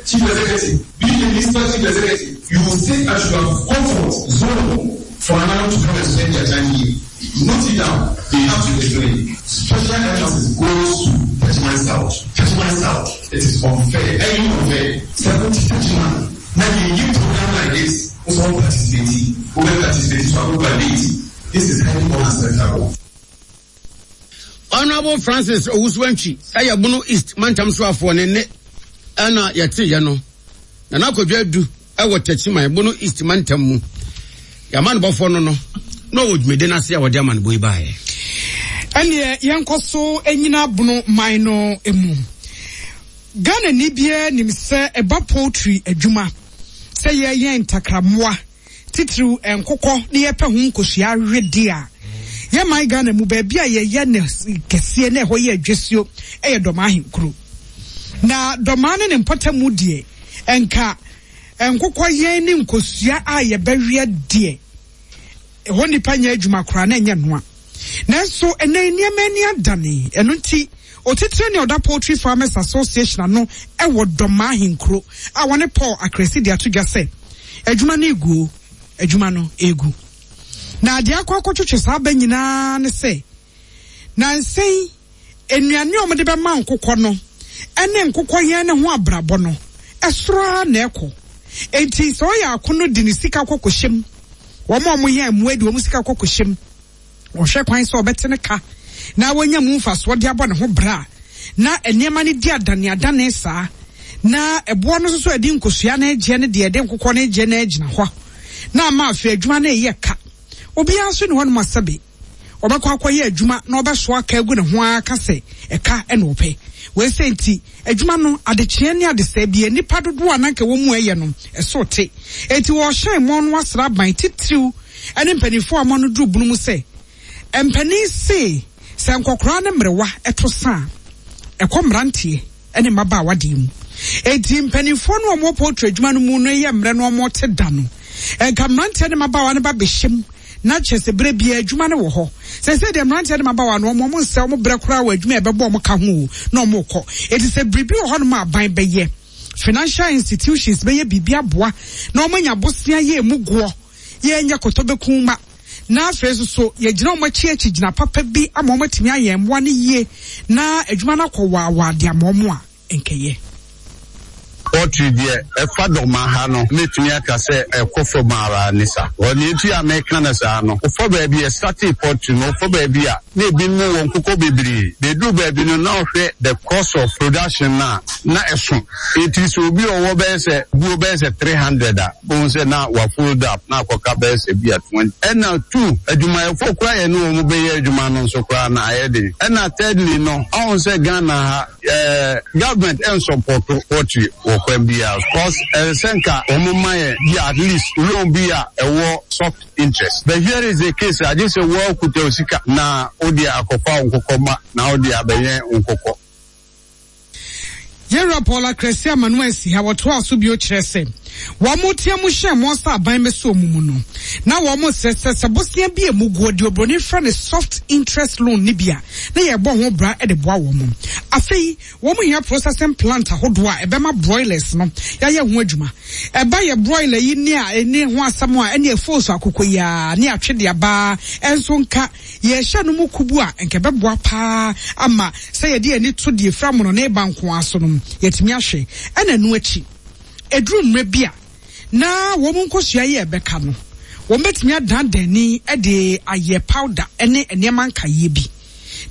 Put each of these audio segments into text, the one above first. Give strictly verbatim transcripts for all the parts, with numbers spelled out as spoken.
chief executive, be the municipal chief executive, you will sit at your comfort zone for now to come and spend their time here. Note it down. They have to explain. Special emphasis goes to Techiman South. Techiman South. It is unfair. Very unfair. Seventy Techiman. Now you give program like this, also participating, over participating, so I go This is highly unacceptable. Honorable Francis Owusu-Antwi ɛyɛ Bono East mantam soafoɔ ne ne ɛna yɛte yɛ no Nana Akwadwo Adu ɛwɔ Techiman, Bono East mantam mu yɛama no bɔfoɔ no no na ɔwɔ dwumadi no ase a wɔde ama no bɔ yi baeɛ. Ɛneɛ yɛnkɔ so nyina Bono man no mu. Ghana ni biara nim sɛ ɛba poultry adwuma, sɛ yɛyɛ ntakrammoa, titiriw nkokɔ, ne yɛpɛ ho nkosua awede a, yɛman Ghana mu baabi a yɛyɛ ne kɛseɛ na ɛhɔ yɛ adwasuo ɛyɛ Dɔmaa ahenkuro. Na Dɔmaa ne ne mpɔtamu deɛ, nka nkokɔ yɛn ne nkosua a yɛbɛweɛ deɛ, ɛhɔ nipa nyɛ adwuma koraa na ɛnyɛ noa. Nanso ɛnɛ nneɛma ani adane. Ɛno nti otitire ne ɔda Poultry Farmers Association ano ɛwɔ Dɔmaa ahenkuro a wɔne Paul Akrasi de ato dwa sɛ adwuma no egu, adwuma no egu. Na adeɛ akɔ akɔtwitwi saa aba nyinaa ne sɛ nansɛn nnuane a wɔde bɛma nkokɔ no ɛne nkokɔ yɛn ne ho abrabɔ no ɛsoro ara na ɛkɔ. Enti sɛ ɔyɛ akono de ne sika kɔ kɔhyɛm, wɔn a wɔyɛ mmoa de wɔn sika kɔ kɔhyɛm, wɔhwɛ kwan sɛ ɔbɛte ne ka na wɔnya mu mfasoɔ de abɔ ne ho bra, na nneɛma no di adane adane saa, na ɛboɔ no nso so ɛde nkosua no agye ne deɛ ɛde nkokɔ no agye no agyina hɔ na ama afei adwuma no ɛyɛ ka. Obiara nso ne hɔnom asɛbe ɔbɛkɔ akɔyɛ adwuma na ɔbɛsoa aka agu ne ho ara ka sɛ ɛka ɛna ɔpɛ. Wɔsɛ nti adwuma no adekyeɛ ne adesɛe bi nipa dodoɔ a nanka wɔn mu ɛyɛ no ɛso te. Eti wɔhyɛn mɔ no asra aban titiriw ɛne mpanimfoɔ a wɔn no duru bunu mu sɛ mpanin se sɛ nkɔkora ne mmerewa ɛto sa ɛkɔ mmeranteɛ ɛne mmabaawa deɛ mu. Eti mpanimfoɔ no a wɔwɔ poultry adwuma no mu no yɛ mmerɛ no wɔn te da no, nka mmeranteɛ ne mmabaawa no ba bɛhyɛ mu na kyerɛ sɛ berɛ biara adwuma no wɔ hɔ. Sɛ sɛ deɛ mmeranteɛ ne mmabaawa no wɔn nsɛ wɔn brɛ koraa wɔ adwuma a ɛbɛbɔ wɔn ka ho o na wɔn kɔ. Eti sɛ biribi wɔ hɔnom a aban bɛyɛ, financial institutions bɛyɛ biribi aboa na wɔn anya bosea yɛ emu goɔ, yɛnyɛ kɔtɔ ma na afei nso so yɛgyina wɔn akyi akyi gyina papa bi ama wɔn atumi ayɛ mmoa no yie na adwuma no akɔ waawaa de ama wɔn a nkɛyɛ. Poultry deɛ, ɛfa Dɔma ha no, mɛtumi aka sɛ ɛkɔ fam ara ne sa. Ɔne nti a mɛka no saa no, wofa baabi a ɛstartee poultry no, wofa baabi a na ebinom wɔ nkokɔ bebree, bɛduru baabi no na ɔhwɛ the cost of production na na ɛso. Eti sɛ obi a ɔwɔ bɛyɛ sɛ buo bɛyɛ sɛ three hundred a, ohun sɛ na wa fold up na akɔka bɛyɛ sɛ bi a twenty. Ɛna two, adwumayɛfoɔ koraa yɛ ne wɔn bɛyɛ adwuma no nso koraa na ayɛ den. Ɛna thirdly no, ɔhun sɛ Ghana ha ɛɛ government ɛnsupport poultry wɔ kwan biara, cause ɛsɛ sɛ nka wɔn ma yɛ bi at least loan bi a ɛwɔ soft interest, but here is the case, agye sɛ wɔn kuta sika na wode akɔfa nkokɔ ma na wode abɛyɛ nkokɔ. Yɛwura Paul Akrasi Amanu asi ha wɔtoa so bio kyerɛ sɛ wɔn mo tea mu hyɛn mo ɔsa aban bɛsɛ wɔn mu no na wɔn mo sɛ sɛ sɛ bosia bi emu guo deɛ obroni frɛ no soft interest loan ne bi a na yɛbɔ ho bra de boa wɔn mo. Afei wɔn mo hia processing plant ahodoɔ a ɛbɛma broilers no yɛayɛ ho adwuma. Ɛba yɛ broiler yi ne a ɛne ho asɛm a ɛne ɛfo so akokɔ yi a ne atwe de aba ɛnso nka yɛhyɛ no mu kubu a nka ɛbɛboa paa ama sɛ yɛde ani to deɛ fira mono ne ba nko aso no yɛtumi ahwɛ. Ɛna ɛno akyi eduru mmerɛ bi a na wɔn nkosua yi ɛbɛka no, wɔn bɛtumi adandan ni ɛde ayɛ powder ɛne nneɛma nkaeɛ bi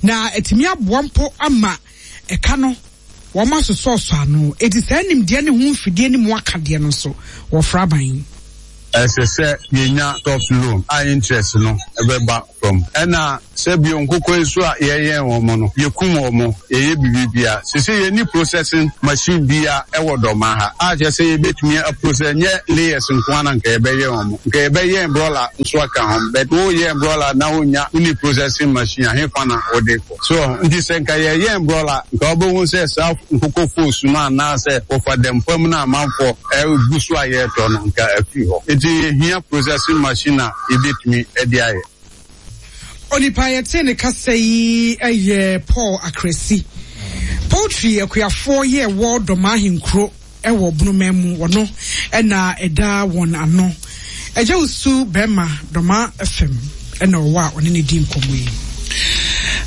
na ɛtumi aboa mpo ama ɛka no wɔn asosɔsɔ ano. Eti saa nimdeɛ ne ho mfidie ne mu akadeɛ no nso wɔfra aban. Ɛsɛ sɛ yɛnya soft loan a interest no ɛbɛba fam. Ɛna sɛ bio nkokɔ yi so a yɛyɛn wɔn no, yɛkum wɔn, yɛyɛ biribi sese yɛni processing machine bia ɛwɔ Dɔma ha a kyerɛ sɛ yɛbɛtumi aprocess. Nyɛ layers nko ara nka yɛbɛyɛ wɔn, nka yɛbɛyɛn broiler nso aka ho, but woyɛn broiler na wonya woni processing machine ahefa na wode kɔ so? Nti sɛ nka yɛyɛn broiler, nka wobɛhu sɛ saa nkokɔ fos no anaasɛ wɔfa dɛmfam no amanfoɔ ɛgu so a yɛretɔ no nka afiri hɔ. Nti yɛhia processing machine a yɛbɛtumi de ayɛ. Onipa yɛte ne kasa yi ɛyɛ Paul Akrasi, poultry akuafoɔ yɛ wɔ Dɔma ahenkuro. Ɛwɔ Bonoman mu, wɔno ɛna ɛda wɔn ano. Ɛgya Wusu bɛrima Dɔma F M ɛna ɔwɔ a ɔne ne di nkɔmmɔ yi.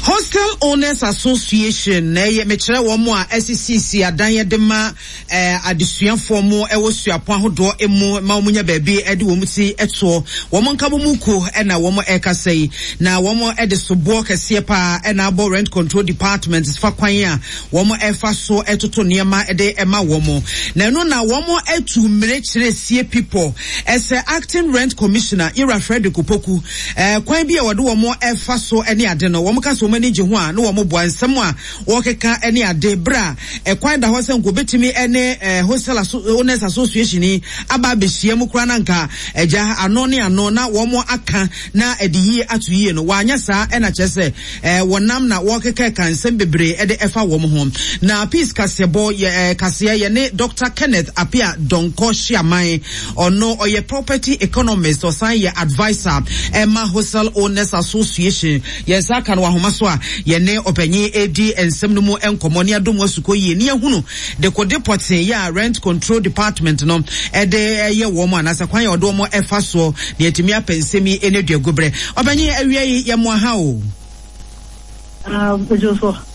Hostel Owners Association na ɛyɛ mekyerɛ wɔn a ɛsisisi adan de ma ɛɛ adesuafoɔ mo ɛwɔ suapɔn ahodoɔ mu ma wɔn nya baabi ɛde wɔn ti ɛtoɔ, wɔn nka wɔn kuo ɛna wɔn ɛkasa yi, na wɔn ɛde soboɔ kɛseɛ paa ɛna abɔ Rent Control Department fa kwan a wɔn ɛfa so ɛtoto nneɛma ɛde ɛma wɔn. Na ɛno na wɔn ɛtu mmire kyerɛ sie people ɛsɛ Acting Rent Commissioner Yira Frederick Opoku ɛɛ kwan bi a wɔde wɔn ɛfa so ɛne ade no. Wɔn ka sɛ wɔn ani gye ho a na wɔn boa nsɛm a wɔkeka ɛne ade bere a ɛkwan da hɔ sɛ nko betumi ɛne ɛɛ Hostel Owners Association yi aba abɛhyia mu koraa na nka ɛgya ano ne ano na wɔn aka na ɛde yie ato yie no, wɔanyɛ saa. Ɛna kyerɛ sɛ ɛɛ wɔnam na wɔkeka ka nsɛm bebree ɛde ɛfa wɔn ho. Na Peace kaseɛbɔ yɛ ɛɛ kaseɛ yɛ ne Doctor Kenneth Apia Donkɔ Hyiaman, ɔno ɔyɛ property economist, ɔsan yɛ adviser ɛma Hostel Owners Association. Yɛn nsa aka no wɔ ahoma so a yɛne ɔpanyin edi nsɛm no mu nkɔmɔ ne adom asukɔ yie ne yɛhunu dekode pɔtee yɛ a Rent Control Department no ɛde ɛyɛ wɔn anaasɛ kwan yɛ ɔde wɔn ɛfa soɔ na yɛtumi apɛ nsɛm yi ɛne dua gubrɛ. Ɔpanyin, awia yi yɛ mo aha o.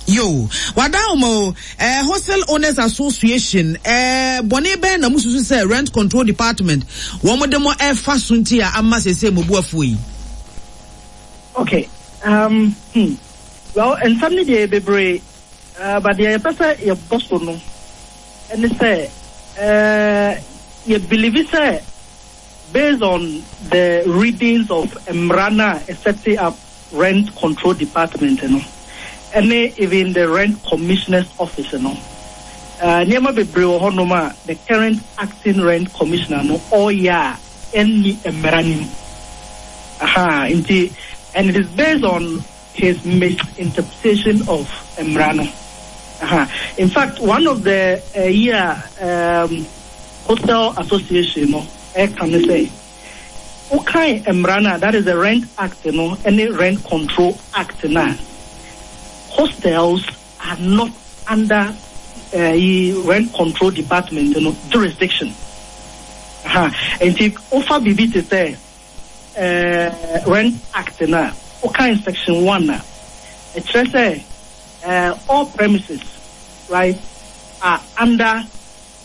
Yo, wada o eh, Hostel Owners Association, eh, bɔne bɛn na mususu sɛ Rent Control Department wɔn de mo ɛfa so nti a ama sese mo bu afuo yi? Okay. Um, hmm. Well, nsɛm no deɛ bebree, uh, but deɛ yɛpɛ sɛ yɛbɔ so no ɛne sɛ uh, yɛ believe sɛ based on the readings of mmara no a ɛset up Rent Control Department no ɛne even the Rent Commissioner's Office no, uh, nneɛma bebree wɔ hɔnom a the current Acting Rent Commissioner no ɔreyɛ a ɛnni mmara no mu. Aha, nti and it is based on his misinterpretation of mmara no. Aha. In fact, one of the uh, year um, Hostel Association no ɛka ne sɛ wokan mmara no a, that is the Rent Act no ɛne Rent Control Act no a, hostels are not under uh, Rent Control Department no jurisdiction. Aha. Nti wofa biribi te sɛ uh, Rent Act no a, wokan section one a, ɛkyerɛ sɛ uh, all premises, right, are under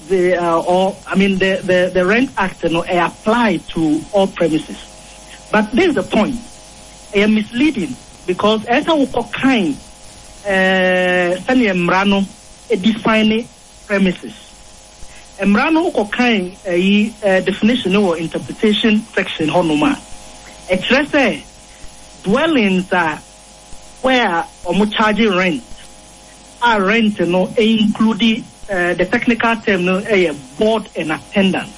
the uh, or I mean the, the, the Rent Act you know, apply to all premises. But this is the point. Ɛyɛ misleading because ɛsɛ wokɔ kan sɛnea mmara no define premises. Mmara no, wokɔ kan ɛyi definition no wɔ interpretation section hɔnom a, ɛkyerɛ sɛ dwellings a where ɔmo charge rent a, rent no include uh, the technical term no ɛyɛ board and attendance.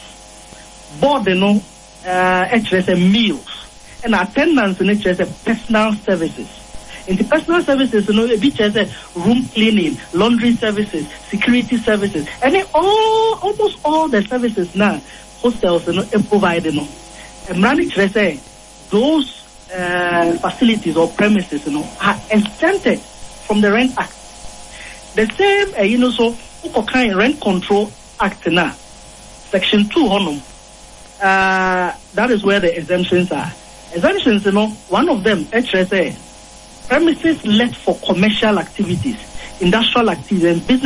Board no ɛkyerɛ sɛ meals, ɛna attendance no kyerɛ sɛ personal services. Nti personal services no ebi kyerɛ sɛ room cleaning, laundry services, security services, ɛne all almost all the services na hostels no provide no. Mmara no kyerɛ sɛ those uh, facilities or premises no are exempted from the Rent Act. The same ɛyi no so, wokɔkan Rent Control Act na section two hɔnom, uh, that is where the exemptions are. Exemptions no, one of them ɛkyerɛ sɛ premises let for commercial activities, industrial activities and business